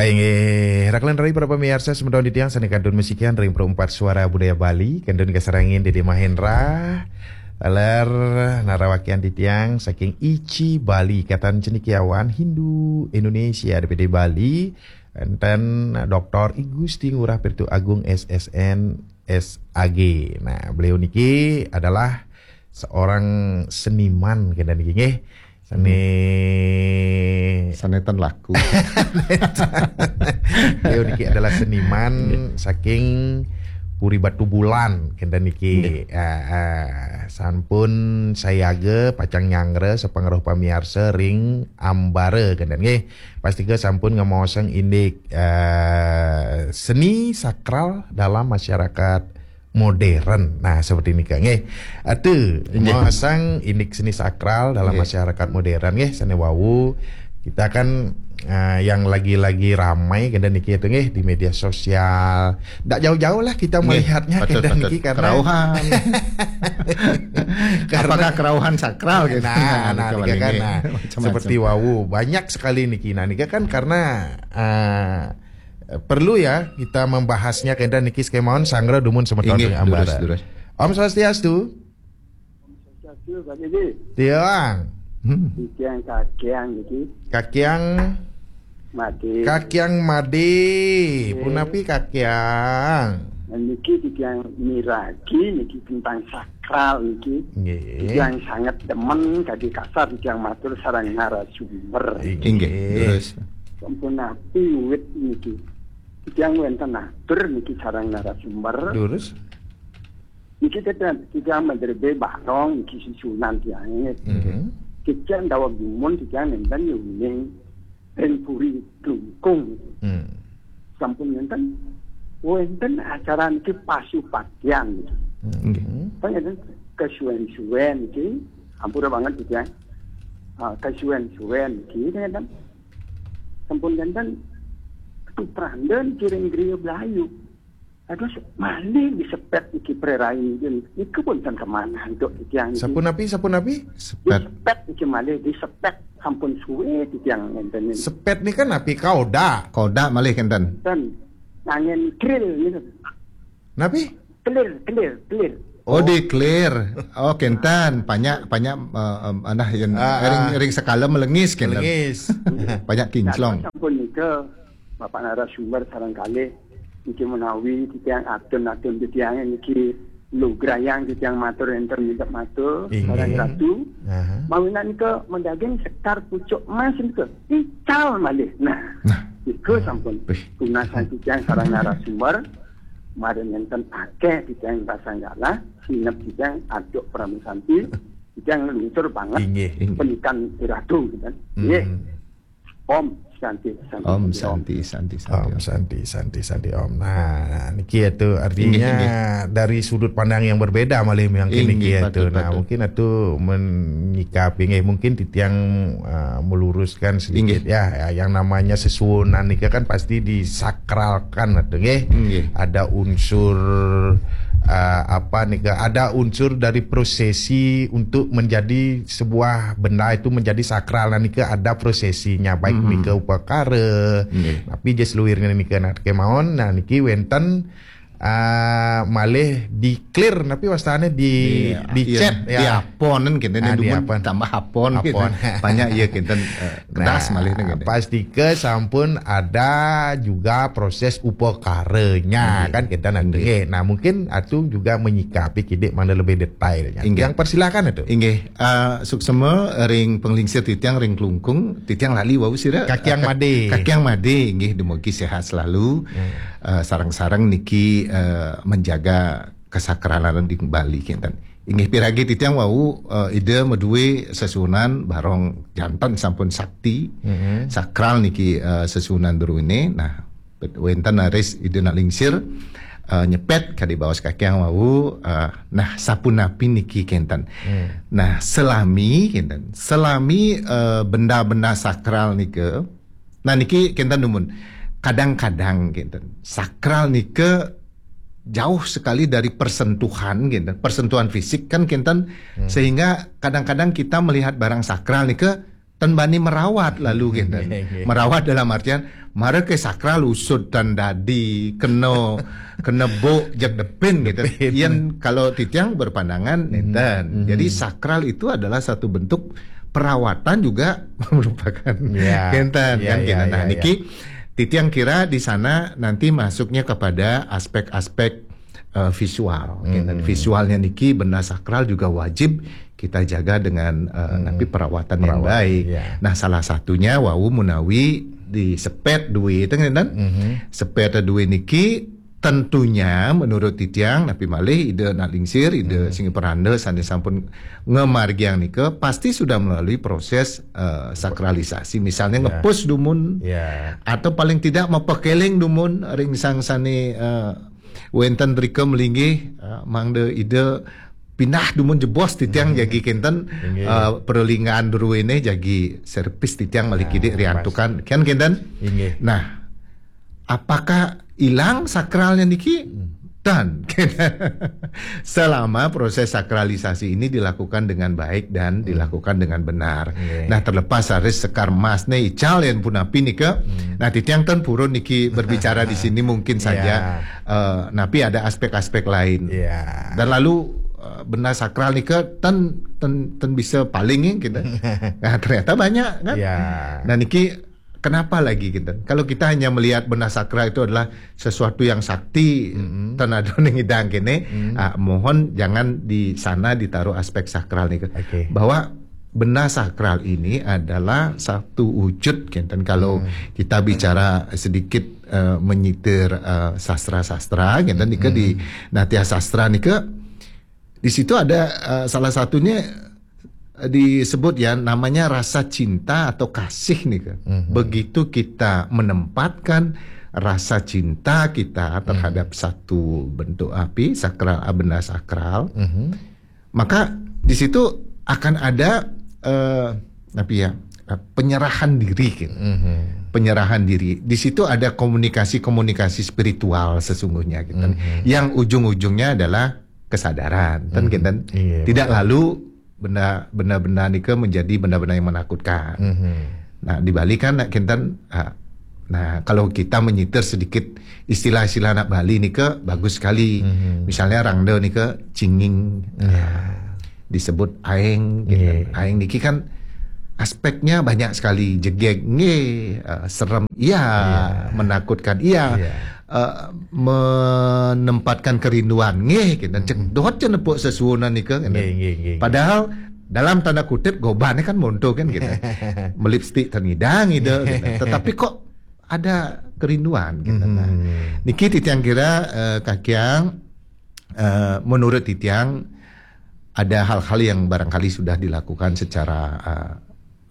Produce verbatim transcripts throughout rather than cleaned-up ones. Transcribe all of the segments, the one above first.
Inggih, rakan rai para pamiarsa semeton titiang sané kantun masikian ring Perumpat Suara Budaya Bali, kantun kasarengin Dede Mahendra, taler narawakian titiang saking I C I Bali, Ikatan Cendekiawan Hindu Indonesia, D P D Bali, enten Doktor I Gusti Ngurah Pirtu Agung S S N, S A G. Nah, beliau niki adalah seorang seniman, kenten niki nggih. Sané Sané ten laku. Beliau niki adalah seniman saking Puri Batubulan, kenten niki. Ah, ah, sampun sayaga pacang nyanggra sapangrauh pamiarsa ring ambara, kenten nggih. Pastika sampun ngamaosang indik, eh, seni sakral dalam masyarakat modern. Nah, seperti nika nggih. Atu, Nggih. Maosang indik seni sakral dalam Nggih. Masyarakat modern nggih, sané wau kita kan, eh, yang lagi-lagi ramai kenten niki itu nggih di media sosial. Ndak jauh-jauh lah kita Nggih, melihatnya betul, kenten betul. niki karena Kerauhan. Karena Apakah kerauhan sakral gitu? Nah, nah, Nika nika kan, ini nah, macam-macam. Seperti wau, banyak sekali niki. Nah, nika kan karena, eh, perlu ya kita membahasnya kenten niki, sané mawon sanggra dumun semeton Inggih, ring ambara. Durus, durus. Om Swastiastu. Satu Pak Didi, Tiang. Hmm. titiang kakiang niki Kakiang, mati. Kakiang Made. Nggih. Punapi Kakiang? Niki titiang miragi niki tentang sakral niki. Nggih. Titiang sangat demen, kadi kasar titiang matur sareng narasumber. Inggih, durus. Sampun napi wit niki. Titiang wénten atur niki sareng narasumber. Durus. Niki titiang, titiang madrebé barong niki susunan tiangé. Mhm. Titiang daweg dumun titiang nénten yuning ring Puri Klungkung. Hmm. Sampun nénten wénten acara niki pasupatian niki. Mhm. Pangaten kasuén-suén niki, ampura banget titiang. Ah, kasuén-suén niki nénten. Sampun nénten tupranda niki ring griya Blayu. Aduh, malih disepet niki prerain niki. Niku pun ten kemanah untuk titiang niki. Sapunapi, sapunapi? Sepet. Disepet niki malih, disepet sampun suwé titiang nénten niki. Sepet nika napi, kaoda? Koda malih kenten. Ten ngangen kril niki. Napi? Clear, clear, clear. Oh, di clear. Oh, kenten. Banyak, banyak, eh, em, anah yang Ah, ring, ah. Ring Sekala melengis kenten. Melengis. Banyak kinclong. Sampun nika Bapak narasumber sareng kalih niki menawi titiang atun-atun titiang niki lugrayang titiang matur enten minta matur Inggih. Sareng Ratu. Aha. Mawinan nika madaging sekar pucuk emas nika ical malih. Nah, nika sampun Wih. Tunas titiang sareng narasumber. Mari nenten akeh titiang pasang galah, sinep titiang aduk Parama Santi, titiang luntur banget Inggih. Pendidikan Ratu gitu. Hmm. Nggih. Om Santi, Santi, Om Santi, Om. Santi, Santi, Santi. Om Santi, Santi, Santi, Om. Nah, niki itu artinya Inggih, inggih. Dari sudut pandang yang berbeda malih mungkin Inggih, niki itu. patut, Nah, patut. Mungkin itu menyikapi nggih, mungkin titiang, eh, meluruskan sedikit Inggih. Ya, ya, yang namanya sesuunan nika kan pasti disakralkan itu nggih. Inggih. Ada unsur, eh, apa nika, ada unsur dari prosesi untuk menjadi sebuah benda itu menjadi sakral. Nah, nika ada prosesinya, baik Hmm. nika upakara, Nggih. tapi jas luirnya nika nak kemawon. Nah, niki wénten, ah, malih di clear, tapi wastane di, di chat ya. Di apon kan kenten, Ah, di dumun apon. Tambah apon gitu. Apon. Banyak ya kenten, eh, kedas Nah, malih nih gitu. Pastika sampun ada juga proses upakaranya Nggih. kan kita nanti. Nggih. Nah, mungkin Atung juga menyikapi kidik mana lebih detailnya. Inggih. Yang persilakan itu. Inggih, eh, suksema ring penglingsir titiang ring Klungkung, titiang lali wau sira. Kakiang Ka- Made. Kakiang Made, inggih, dumugi sehat selalu. Eh, sareng-sareng niki, eh, menjaga kesakralan di Bali kinten. Inggih piragi titiang wau, eh, Ida madue sesuunan barong janten sampun sakti. Mhm. Sakral niki, eh, sesuunan druene. Nah, wenten raris Ida nak lingsir, eh, nyepet kadi baos kakiang wau, eh, nah, sapunapi niki kenten. Hmm. Nah, selami kenten. Selami, eh, benda-benda sakral nika. Nah, niki kenten dumun. Kadang-kadang kenten. Sakral nika jauh sekali dari persentuhan kenten. Persentuhan fisik kan kenten. Hmm. Sehingga kadang-kadang kita melihat barang sakral nika ten bani merawat lalu gitu. Merawat dalam artian mara ke sakral usud ten dadi kena kena bok jak depin gitu. Yen kalau titiang berpandangan nenten. Jadi sakral itu adalah satu bentuk perawatan juga merupakan Ya. kenten Ya, kan ya, kenten. Nah, ya, niki titiang kira di sana nanti masuknya kepada aspek-aspek eh, visual. Kenten. Visualnya niki benda sakral juga wajib kita jaga dengan eh, tapi perawatan, yang Perawatan, baik. Ya. Nah, salah satunya wau menawi di sepet duit kan kenten. Sepet duit niki tentunya menurut titiang napi malih ida nak lingsir ida sing peranda sane sampun ngemargiang nika pasti sudah melalui proses eh, sakralisasi misalnya ngepus dumun Ya. atau paling tidak mapakeling dumun ring sang sane eh, wenten rika melinggih eh, mangda ida pindah dumun jebos titiang jagi kenten Inggih. eh, perlingan druene jagi servis titiang malih kidik riantukan kan kenten. Inggih. Nah, apakah hilang sakralnya niki? Dan selama proses sakralisasi ini dilakukan dengan baik dan dilakukan dengan benar. Iya. Nah, terlepas saris sekar mas ne ical yen punapi nika. Nah, titiang ten purun niki berbicara di sini mungkin saja eh, napi ada aspek-aspek lain. Ya. Dan lalu eh, benda sakral nika ten ten ten bisa paling ya kita. Nah, ternyata banyak kan. Ya. Nah, niki kenapa lagi kita? Kalau kita hanya melihat benda sakral itu adalah sesuatu yang sakti, tan ada ning idang kene, ah, mohon jangan di sana ditaruh aspek sakral nih. Oke. Bahwa benda sakral ini adalah satu wujud kenten kalau kita bicara sedikit eh, menyitir eh, sastra-sastra kenten nika di Natya Sastra nika di situ ada eh, salah satunya eh, disebut ya namanya rasa cinta atau kasih nih kan. Begitu kita menempatkan rasa cinta kita terhadap satu bentuk api sakral, benda sakral, maka di situ akan ada eh, apa ya eh, penyerahan diri gitu. Penyerahan diri. Di situ ada komunikasi-komunikasi spiritual sesungguhnya gitu. Yang ujung-ujungnya adalah kesadaran. Kan gitu. Iya, Tidak lalu benda benda-benda nika menjadi benda-benda yang menakutkan. Nah, di Bali kan nak kenten ah, nah kalau kita menyitir sedikit istilah-istilah anak Bali nika bagus sekali. Misalnya rangda nika cinging. Ah, disebut aeng gitu. Iya. Aeng niki kan aspeknya banyak sekali jegeg nggih, ah, serem iya, menakutkan iya. Iya. Eh, menempatkan kerinduan nggih gitu. Cek dot je nepuk sesuunan nika gitu. Nggih, nggih, nggih. Padahal dalam tanda kutip gobannya kan monto kan gitu. Melipstik ternidang gitu, gitu. Tetapi kok ada kerinduan gitu. Nah, niki titiang kira eh, kakiang eh, menurut titiang ada hal-hal yang barangkali sudah dilakukan secara eh,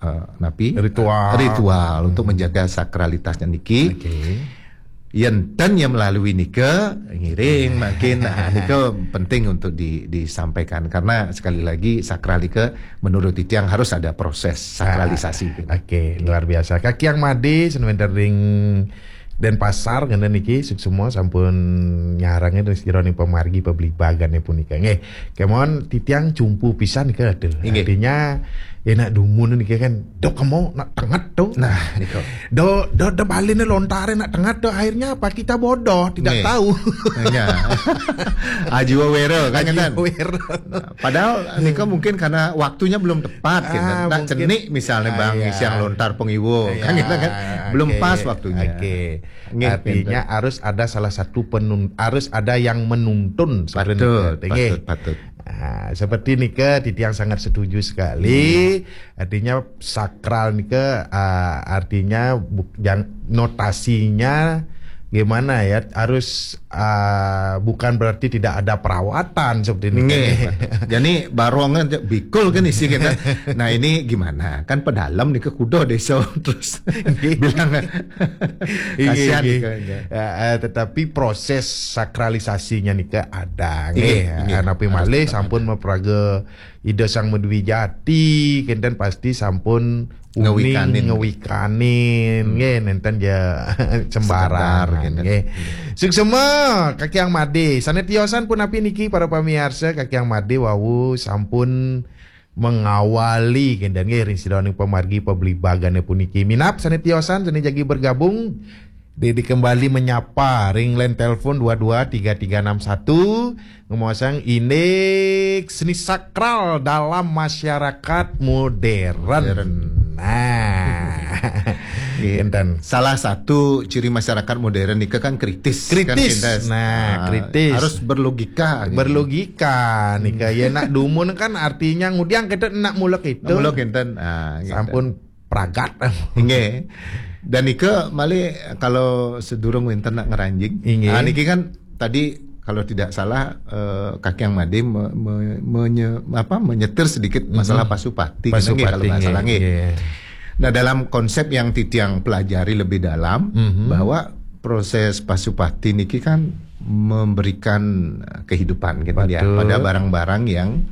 eh, napi Ritual. ritual untuk menjaga sakralitasnya niki. Oke. Yen ten yang melalui nika ngiring makin nah, nika penting untuk di, disampaikan karena sekali lagi sakral nika menurut titiang harus ada proses sakralisasi. Oke, luar biasa. Kakiang Made, senuwun ring Denpasar ngene niki suksma sampun nyarengin ring sira ning pamargi pabligbagan punika. Nggih, kemon titiang cumpu pisan nika aduh. Inggih. Artinya enak dumun niki kan dok kemo nak tenget tuh. Nah, nika. Do do do baline lontare nak tenget tuh akhirnya apa kita bodoh, tidak Nggih. Tahu. Ya. Ajiwa wera kan ngeten. Aware. Padahal nika mungkin karena waktunya belum tepat gitu. Ah, Nak mungkin. Cenik misalnya Ah, bang iya. siang lontar pengiwo kan Ya, gitu kan. Belum oke, Pas waktunya. Oke. Nggih, Artinya harus ada salah satu penun harus ada yang menuntun sebenarnya. Patut, Nggih. patut, patut. Nah, seperti nika titiang sangat setuju sekali. Artinya sakral nika ah, artinya bu- yang notasinya gimana ya harus ah, bukan berarti tidak ada perawatan seperti ini. Nggih. Jadi barong kan bikul kan isi kita. Nah ini gimana? Kan pedalem nih ke kuda desa terus bilang Iya, kasihan iya. nih kayaknya. Ya, eh, tetapi proses sakralisasinya nika ada Iya, nggih. iya. Napi malih sampun maperaga Ida Sang Madwijati kenten pasti sampun uning Ngewikanin. Ngewikanin nggih nenten ya sembarang Sekedar, gitu. Nggih. Suksma Kakiang Made. Sane tiosan punapi niki para pamiarsa Kakiang Made wau sampun mengawali kenten nggih ring sida ning pamargi pabligbagan puniki. Minab sane tiosan sane jagi bergabung, Dede kembali menyapa ring line telepon dua dua tiga tiga enam satu, ngemaosang indik seni sakral dalam masyarakat modern. Modern. Nah. Nggih. Kenten. Salah satu ciri masyarakat modern nika kan kritis, kan, kritis. Kenten. Nah, ah, kritis. Harus berlogika, gitu. Berlogika nika. Hmm. Ya, nak dumun kan artinya ngudiang kita nak mula kita. Mula kenten. Ah, gitu. Sampun pragat. Inggih. Dan nika malih kalau sedurung wenten nak ngranjing. Inggih. Ah, niki kan tadi kalau tidak salah, eh, Kakiang Made me-, me-, menye-, apa, menyetir sedikit masalah, mhm, Pasupati, Pasupati, nggih, kalau nggak salah, nggih, nggih. Nah, dalam konsep yang titiang pelajari lebih dalam, mhm, bahwa proses Pasupati niki kan memberikan, eh, kehidupan gitu ya, betul, pada barang-barang yang,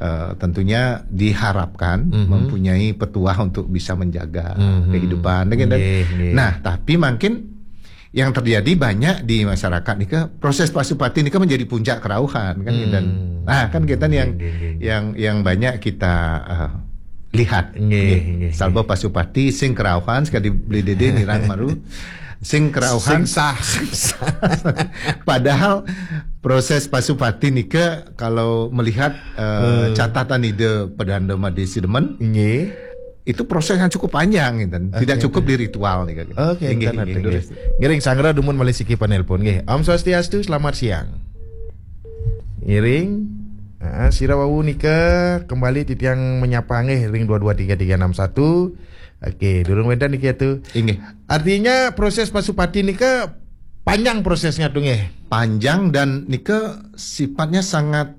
eh, tentunya diharapkan, mhm, mempunyai petuah untuk bisa menjaga, mhm, kehidupan, gitu. Nggih, nggih. Nah, tapi mungkin yang terjadi banyak di masyarakat nika, proses Pasupati nika menjadi puncak kerauhan, kan, hmm, dan, nah, kan kita yang, nggih, nggih, nggih, yang, yang banyak kita, eh, lihat. Nggih, nggih, nggih. Sabab Pasupati sing kerauhan, sekali beli dede nirang maru, sing kerauhan. Sing sah. Padahal proses Pasupati nika kalau melihat, eh, hmm, catatan Ida Pedanda Made Sidemen, nggih, itu proses yang cukup panjang, gitu. Tidak, oke, cukup, oke, di ritual nih, gitu. Oke, nggih, nggih, nggih, nggih. Ngiring sanggra dumun malih siki panelpon, nggih. Om Swastiastu, selamat siang. Ngiring, ah, sira wau nika kembali titiang menyapa nggih ring dua dua tiga tiga enam satu. Oke, durung wenten niki atu. Inggih. Artinya proses Pasupati nika panjang prosesnya tuh nggih. Panjang dan nika sifatnya sangat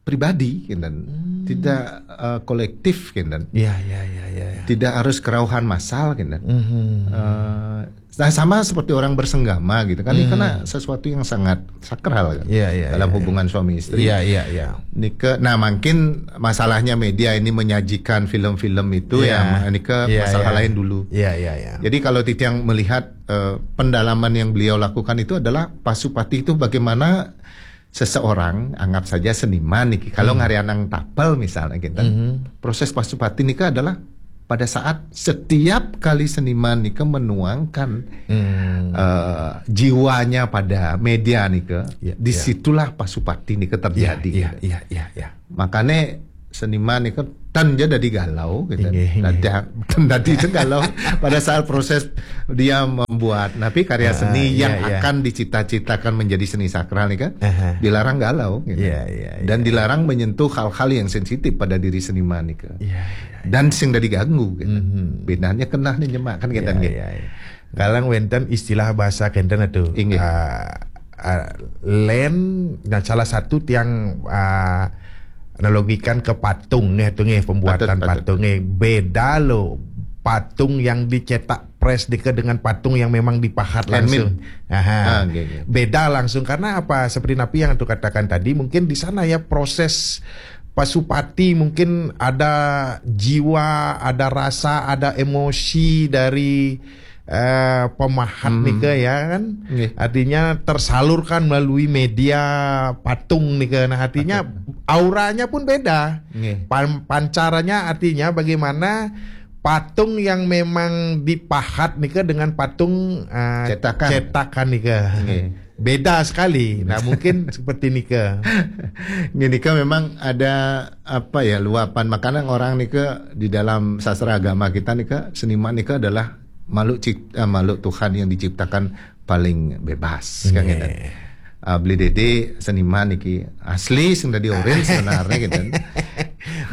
pribadi, gitu. Hmm. Tidak, eh, kolektif, gitu. Iya, iya, iya, iya, iya. Tidak harus kerauhan massal, gitu. Mhm. Eh, nah, sama seperti orang bersenggama, gitu kan. Ini, hmm, karena sesuatu yang sangat sakral, kan, iya, iya, dalam, iya, hubungan suami istri. Iya, iya, iya. Nika, nah, mungkin masalahnya media ini menyajikan film-film itu, iya, yang nika, iya, masalah, iya, lain dulu. Iya, iya, iya. Jadi kalau titiang melihat, eh, pendalaman yang beliau lakukan itu adalah Pasupati itu bagaimana seseorang, anggap saja seniman niki, kalau, hmm, ngarianang tapel misalnya, gitu, mhm, proses Pasupati nika adalah pada saat setiap kali seniman nika menuangkan, hmm, eh, jiwanya pada media nika, ya, ya, disitulah Pasupati nika terjadi, ya, gitu. Ya, ya, ya, ya. Makanya seniman itu tan ja dadi galau, gitu. Inggih, inggih. Dadi, tan dadi itu galau pada saat proses dia membuat. Tapi karya, ah, seni, iya, yang, iya, akan dicita-citakan menjadi seni sakral nih kan, aha, dilarang galau, gitu. Iya, iya, iya. Dan dilarang menyentuh hal-hal yang sensitif pada diri seniman nih kan. Iya, iya, iya. Dan sing dadi ganggu, gitu. Mhm. Bedanya kenah nih nyemak kan, gitu, iya, gitu. Iya, iya. Kalang wenten istilah bahasa kenten itu. Inggih. Ah, ah, len, nah, salah satu tiang, ah, analogikan ke patung nih, tuh nih, pembuatan, patut, patut, patung nih. Beda loh patung yang dicetak press dike dengan patung yang memang dipahat langsung. Handmade. Aha. Ah, nggih, nggih. Beda langsung karena apa? Seperti Napi yang tuh katakan tadi, mungkin di sana ya proses Pasupati mungkin ada jiwa, ada rasa, ada emosi dari, eh, pemahat, hmm, nika ya kan. Nggih. Artinya tersalurkan melalui media patung nika. Nah, artinya, oke, auranya pun beda. Nggih. Pan-, pancarannya artinya bagaimana patung yang memang dipahat nika dengan patung, eh, cetakan, cetakan nika. Nggih. Beda sekali. Nah, mungkin seperti nika. Nggih, nika memang ada, apa ya, luapan. Makanya orang nika di dalam sastra agama kita nika, seniman nika adalah makhluk cip-, eh, makhluk Tuhan yang diciptakan paling bebas, kan, nggih, gitu. Ah, beli dede seniman niki asli sing dadi orin sebenarnya, gitu.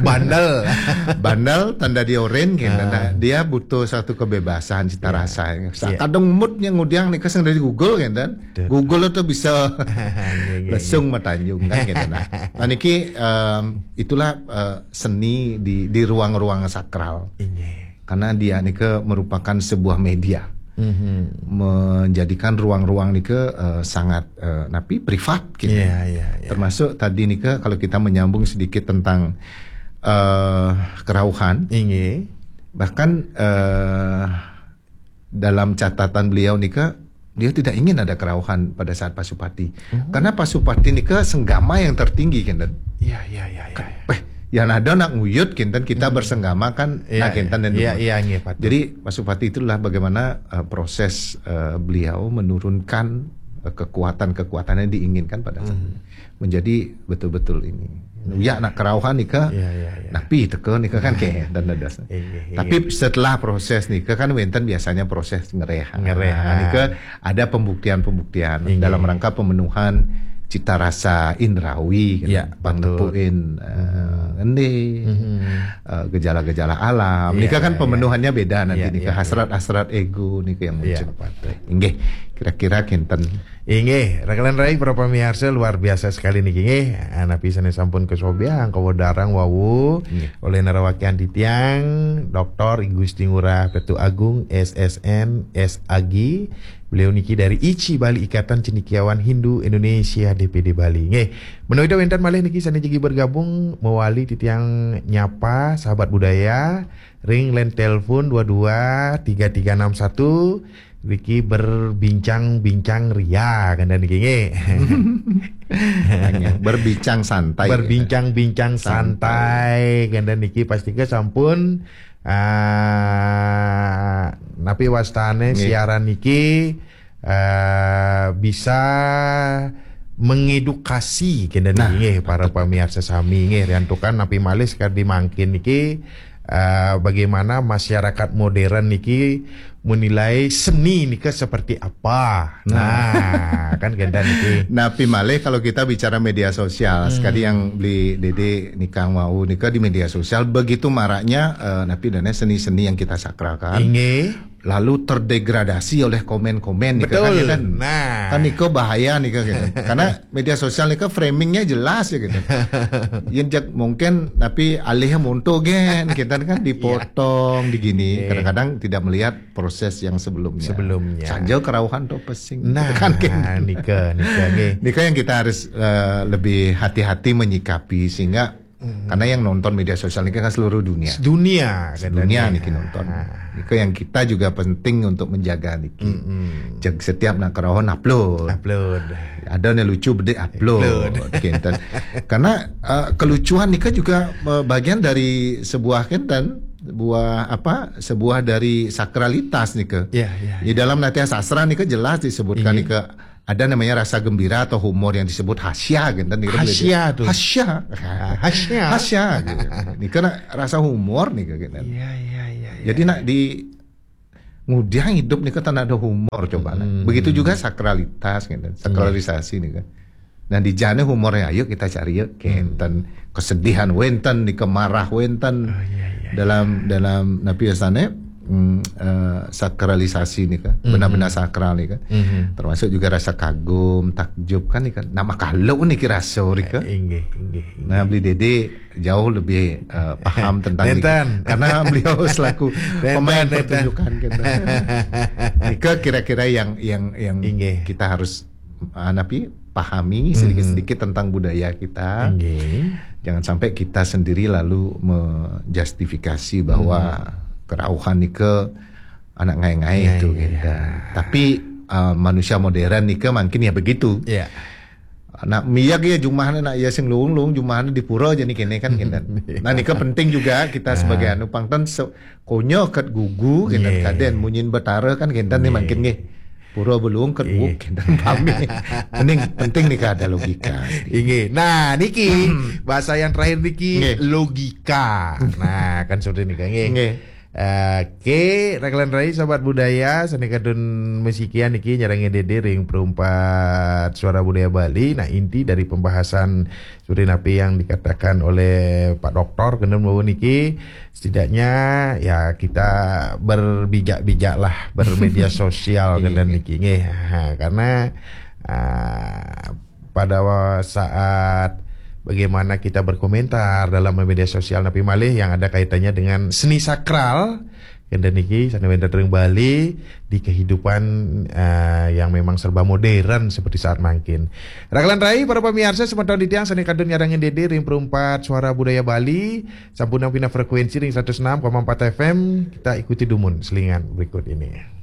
Bandel. Bandel, tan dadi orin, gitu. Ah. Nah, dia butuh satu kebebasan cita, ya, rasa. Sa-, ya, kadang moodnya ngudiang nika sing dadi Google, gitu. Betul. Google itu bisa, nggih, nggih, lesung, nggih, matanjung, kan, gitu. Nah, nah, niki, em, itulah, eh, seni di, di ruang-ruang sakral. Inggih. Karena dia nika merupakan sebuah media. Mhm. Menjadikan ruang-ruang nika, eh, sangat, eh, napi, privat, gitu. Iya, iya, iya. Termasuk tadi nika kalau kita menyambung sedikit tentang, eh, kerauhan. Inggih. Bahkan, eh, dalam catatan beliau nika, dia tidak ingin ada kerauhan pada saat Pasupati. Oh. Karena Pasupati nika senggama yang tertinggi, kan, Dan? Iya, iya, iya, iya, kan, iya. Weh, Yang ada nak nguyut kinten kita hmm. bersenggama kan iya, nak kinten dan iya, iya, iya, Jadi Pak Supati itulah bagaimana uh, proses uh, beliau menurunkan uh, kekuatan-kekuatan yang diinginkan pada hmm. menjadi betul-betul ini. Ya nak kerauhan nika. Ya, ya, ya. Napi teka nika kan ke dan dadas. Iya, iya. Tapi setelah proses nika kan wenten biasanya proses ngereh. Ngereh. Nah, nika ada pembuktian-pembuktian iya. dalam rangka pemenuhan cita rasa indrawi kan. Ya, bang nepuin uh, ngendi. Uh, gejala-gejala alam. Iya, nika kan iya. pemenuhannya beda nanti iya, nika iya, hasrat-hasrat ego nika yang muncul. Iya, inggih, kira-kira kinten Inggih, rekan rai para pemirsa luar biasa sekali niki nggih. Anapi sané sampun kesobiang kawedarang wau oleh narawakian titiang Doktor I Gusti Ngurah Petu Agung S S N S A G. Beliau niki dari ICI Bali Ikatan Cendekiawan Hindu Indonesia D P D Bali. Nggih. Menawi wénten malih niki sané jagi bergabung mewali titiang nyapa sahabat budaya ring line telepon dua dua tiga tiga enam satu Riki berbincang-bincang ria kan niki nggih. Berbincang santai. Berbincang-bincang santai kan niki pasti ke sampun uh, napi wastane nggih. Siaran niki uh, bisa mengedukasi kena nah, nggih para pemirsa sami nggih riantukan napi malih sekali mangkin niki uh, bagaimana masyarakat modern niki menilai seni nika seperti apa. Nah, nah kan genda niki. Napi malih kalau kita bicara media sosial, hmm. sekali yang beli Dede nikang mau nika di media sosial begitu maraknya uh, napi dana seni-seni yang kita sakralkan. Inggih. Lalu terdegradasi oleh komen-komen nih kan, kan? Nah. Kan niko bahaya nih kan gitu. Karena media sosial nih kan framingnya jelas ya gitu. Yang mungkin tapi alih monto gen kita kan dipotong iya. digini. Iya. Kadang-kadang tidak melihat proses yang sebelumnya. Sebelumnya. Sanjau kerauhan tuh pesing. Nah, kan gitu. Nika, nika nih. Nika yang kita harus uh, lebih hati-hati menyikapi sehingga Hmm. Karena yang nonton media sosial ini kan seluruh dunia. Dunia, dunia nih nonton. Nah. Itu yang kita juga penting untuk menjaga niki. Hmm. Setiap nak kerohon upload. Upload. Ada nih lucu bedik upload. upload. Karena uh, kelucuan nika juga uh, bagian dari sebuah kenten, buah apa? Sebuah dari sakralitas nika. Ya, ya, Di dalam Natya Sastra nika jelas disebutkan nika ada namanya rasa gembira atau humor yang disebut hasya gitu kan. Hasya tuh. Hasya. Ah, hasya. Hasya gitu. Ini kan rasa humor nih gitu kan. Iya, iya, iya. Jadi ya. nak di ngudiang hidup nih kan ada humor coba hmm. Begitu juga sakralitas gitu. Sakralisasi nih kan. Nah di jane humornya ayo kita cari ya kenten hmm. kesedihan wenten nih kemarah wenten oh, iya, iya, dalam iya. dalam napi sana hmm, uh, sakralisasi nih kan, mm-hmm. benar-benar sakral nih kan, mm-hmm. termasuk juga rasa kagum, takjub kan nih kan, nama kalau nih kira sore kan, inggih, inggih, inggih. Nah beli Dede jauh lebih uh, paham tentang ini karena beliau selaku pemain pertunjukan kan. Nika kira-kira yang yang yang inggih. Kita harus uh, napi pahami sedikit-sedikit hmm. tentang budaya kita. Okay. Jangan sampai kita sendiri lalu menjustifikasi bahwa hmm. kerauhan nika anak ngai-ngai itu ya, gitu. Ya. Tapi uh, manusia modern nika mungkin ya begitu. Ya. Nak miyak ya jumahnya nak ya sing lung-lung jumahnya di pura aja nih kene kan gitu. Nah nika penting juga kita sebagai anu pangtan se- Konyo kat gugu kenten yeah. kaden munyin betara kan kenten yeah. ni makin nggih. Pura belung kat yeah. guk kenten pami. Penting penting ni ada logika. Inggih. Nah, niki bahasa yang terakhir niki yeah. logika. Nah, kan seperti niki nggih. Nggih. Oke, rakan rai sahabat budaya, sané kadun mesikian niki nyarengin Dede ring perumpat suara budaya Bali. Nah, inti dari pembahasan seperti napi yang dikatakan oleh Pak Doktor kena bahwa niki setidaknya ya kita berbijak-bijak lah bermedia sosial kena niki nggih. Ha, karena uh, pada saat bagaimana kita berkomentar dalam media sosial napi malih yang ada kaitannya dengan seni sakral Kenten niki sané wénten ring Bali di kehidupan uh, yang memang serba modern seperti saat mangkin. Rakan rai para pemirsa semeton titiang sané kadun nyarengin Dede ring perumpat suara budaya Bali, sampun pindah frekuensi ring seratus enam koma empat F M, kita ikuti dumun selingan berikut ini.